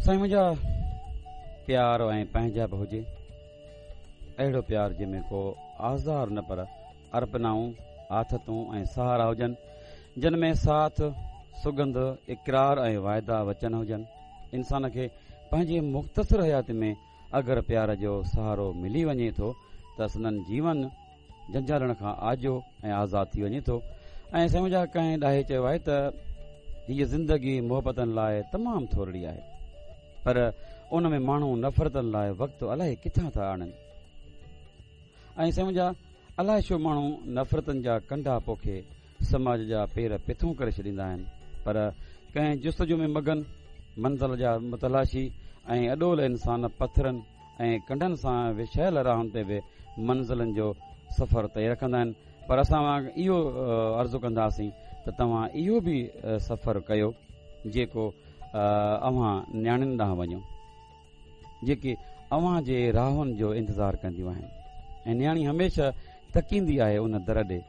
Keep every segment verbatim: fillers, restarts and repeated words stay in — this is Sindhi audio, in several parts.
سائين منهنجا، پيار ۽ پنهنجائپ هجي، اهڙو پيار جنهن ۾ ڪو آزار نه پر ارپنائون، آٿتون ۽ سهارا هجن، جن ۾ ساٿ، سڳنڌ، اقرار ۽ واعدا وچن هجن. انسان کي پنهنجي مختصر حياتي ۾ اگر پيار جو سهارو ملي وڃي ٿو ته سندن جيون جنجالن کان آجو ۽ آزاد ٿي وڃي ٿو. ۽ سائين منهنجا، ڪنهن ڏاهي چيو آهي ته هيء زندگي محبتن لاء تمام ٿورڙي آهي، پر ان ۾ ماڻهو نفرتن لاء وقت الائي ڪٿان ٿا آڻن. ۽ سائين منهنجا، الائي ڇو ماڻهو نفرتن جا ڪنڊا پوکي سماج جا پير پٿون ڪري ڇڏيندا آهن، پر ڪنهن جستجو ۾ مگن، منزل جا متلاشي ۽ اڏول انسان پٿرن ۽ ڪنڊن سان وڇايل راهن تي به منزلن جو سفر طئي رکندا آهن. پر اسان اهو عرض ڪنداسين ته توهان اهو به سفر ڪيو جيڪو اوهان نياڻين ڏانهن وڃو، جيڪي اوهان جي راهن جو انتظار ڪنديون آهن، ۽ نياڻي هميشه تڪيندي آهي ان در ڏي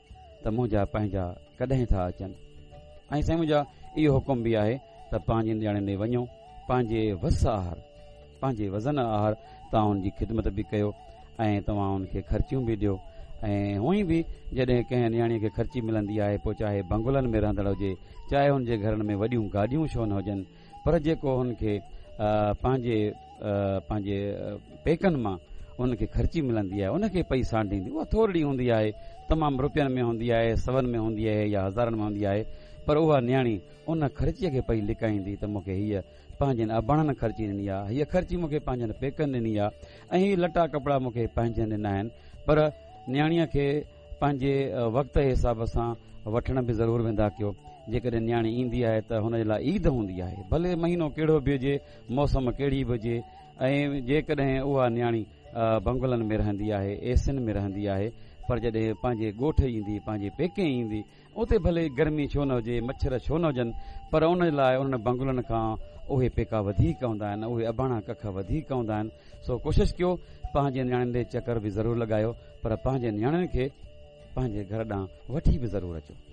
ته منهنجا پنهنجا ڪڏهن ٿا اچن. ۽ سائين منهنجا، اهو حڪم به آهي ته پنهنجي نياڻين ڏي وڃو، پنهنجي وس آهر، پنهنجي وزن آهر توهان ان جي خدمت به ڪيو ۽ توهان ان کي خرچيون به ڏيو. ۽ هونئن به جڏهن ڪنهن نياڻيء کي خرچي ملندي آهي، پوء چاهي بنگلن ۾ رهندڙ هجي، چاهي هن جي گهرن ۾ وڏيون گاڏيون ڇو نه هجن، پر جيڪو هن کي پنهنجي پنهنجي پيڪن مان ان کي خرچي ملندي آهي، ان کي پئي سانڍيندي، اها ٿورڙي هوندي آهي، تمام روپين ۾ هوندي آهي، سون ۾ هوندي آهي يا هزارن ۾ هوندي آهي، پر اها نياڻي ان خرچيء کي پئي لڪائيندي ته مون کي هيء پنهنجن اباڻن خرچي ڏني آهي، هيء خرچي مون کي پنهنجن پيڪن ڏني آهي ۽ هي لٽا ڪپڙا مون کي پنهنجن ڏنا آهن. پر نياڻيء کي پنهنجي وقت جي حساب سان وٺڻ به ضرور ويندا ڪيو. جيڪڏهن نياڻي ايندي آهي ته هن جي لاء عيد هوندي آهي، ڀلي مهينو ڪهڙو به هجي، موسم ڪهڙي به هجي. ۽ جيڪڏهن اها نياڻي بنگلن ۾ رهندي آهي، ايسين ۾ رهندي آهي، پر جڏهن پنهنجي ڳوٺ ايندي، پنهنجي پيڪي ايندي، اتي ڀلي گرمي ڇو نه هجي، مڇر ڇو نه هجن، پر ان لاء انهن بنگلن کان اهي پيڪا وڌيڪ هوندا آهن، اهي اباڻا ڪک وڌيڪ هوندا آهن. سو ڪوشش ڪيو پنهنجي نياڻين ڏي چڪر به ضرور لڳايو، پر پنهنجي نياڻين کي پنهنجي گهر ڏانهن وٺي به ضرور اچو.